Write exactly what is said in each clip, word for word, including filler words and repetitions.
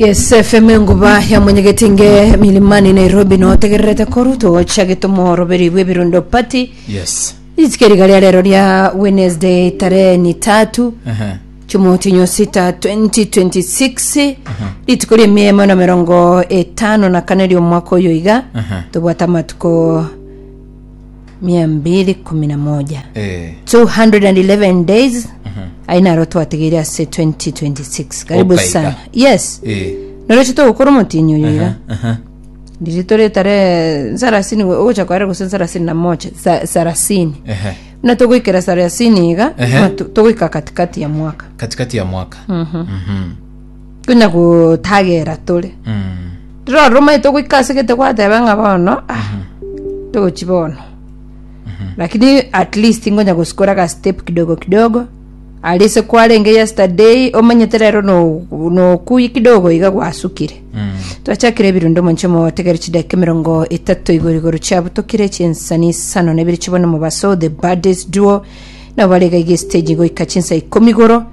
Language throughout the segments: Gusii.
Yes F M, enguba ya mwenyegetinge Milimani Nairobi, notegererete koru togochagete omoroberi bwa ebirundo party. Yes. Rituko riga ria rero ria Wednesday, tarehe ni tatu Ehe. chumotinyo sita twenty twenty-six, rituko ria emia emo na mirongo etano na kane ria omwaka oyo iga. Aha. Tobwate amatuko mia mbili kumi na moja, Eh. two hundred and eleven days ainaro twategeire ase twenty twenty-six. Karibu Okaiga. sana. Yes. Eh. Noroche togokora omotinyi oyo iga. Aha. Ndiri tore tarehe sarasini ogocha kware gose sarasini na moja, Sa- sarasini. Ehe. Buna togoikera sarasini iga, Ehe. na tu- togoika katikati ya mwaka. Katikati ya mwaka. Mhm. Konya gotagera tore Mm. rero rumaete goika ase gete gwateba ng'a bono, ah, togochi bono, lakini at least ngonya gosikora ga step kidogo kidogo arise kwarenge yesterday, omanyete rero no nokuyi kidogo iga gwasukire. Mm. Twachakire ebirundo monche motegere chidakika emirongo etato igoro igoro chiabutokire chinsani isano na ibere chibona mobaso. The Baddest Duo nabo barega iga stage goika chinsa ikomi igoro.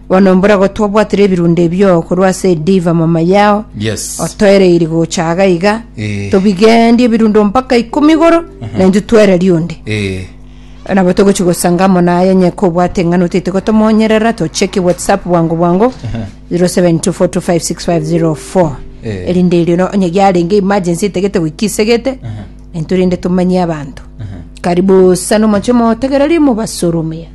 Bono mburago twabwatire ebirundo ebio korwa ase Diva Mama Yao. Yes. Otoereiri gochaga iga. Eh. Tobigendie ebirundo mpaka ikomi igoro naintwe twereria onde. Eh. Nabo togochi gosangamo naye nye kobwate eng'ano tete gotomonyerera tocheki WhatsApp bwango bwango zero seven two four two five six five zero four. Eh. Erinde erio no onye giarenge emergency etegete goikisegete nturinde tumanyie abanto. Karibu sana omoche motegereri mobasoromia.